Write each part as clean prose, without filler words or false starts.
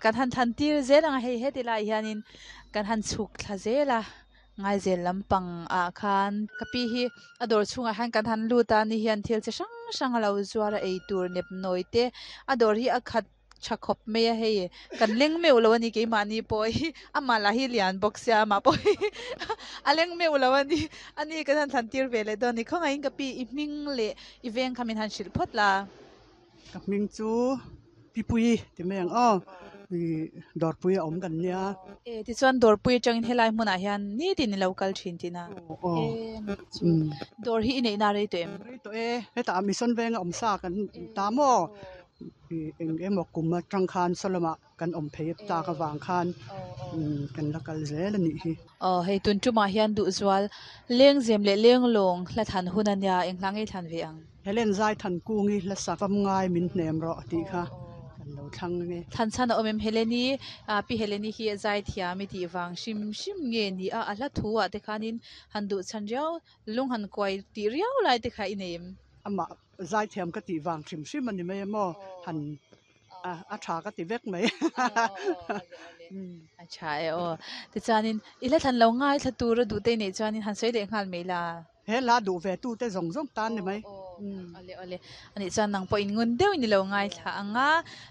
Kan han thlan tir zel ang a hei heti lai hianin kan han chhuk thla zel a ngaizel lampang ah khan ka pi hi a dawr chhungah hian kan han lut a ni hian thil chi hrang hrang a lo zuar a eitur nepnawi te a dawr hi a khat tha khawp mai a hei kan leng meuh lo a ni keimahni pawh hi amah lah hi lian bawk sia amah pawh hi a leng meuh lo a ni ani kan han thlan tir ve leh dawn a ni khawngaihin ka pi i hming leh i veng kha min han hrilh phawt la. Ka hming chu Pipuii ti mai ang aw ih dawrpui a awm kan nia. E tichuan dawrpui atangin helai hmunah hian nitin i lo kal thin tihna. Aw E chu dawr hi i neihna rei tawh em? Rei tawh e, hetah mission venga awm sa kan ta maw ih eng emaw kum atang khan saw lamah kan awm phei tak avang khan kan la kal zel a nih hi. Aw hei tun tumah hian duhzual lengzem leh lenglawng hla than hun a nia eng hla ngei thlan ve ang. Helen zai than kungi hla sak fam ngai min hnem rawh tih kha kan lo thlang ange. Thlan chhan a awm em Heleni Pi Heleni hi zai thiam i tih vang hrim hrim nge ni a a hla thu ah te khanin han duh chhan riau lung han kuai tih riau lai te kha i nei em? Amah zai thiam ka tih vang hrim hrim a ni mai em aw han a tha ka ti vek mai. A tha e aw. Tichuanin i hla thlan lo ngaithla tur a duh te i neih chuanin han sawi leh nghal mai la. He hla duh ve tu te zawng zawng tan ni mai. Awle awle. Anih chuan nang pawhin ngun deuhin i lo ngaithla ang a,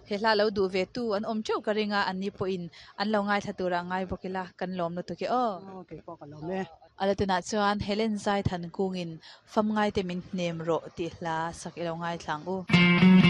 he hla lo duh ve tu an awm teuh ka ring a, anni pawhin an lo ngaithla tur ah ngai bawk ila kan lawm lutuk e aw. Aw kei pawh ka lawm e. Ala tunah chuan Helen Zaithan kungin Famngaite min hnem rawh tih hla sak i lo ngaithla ang u.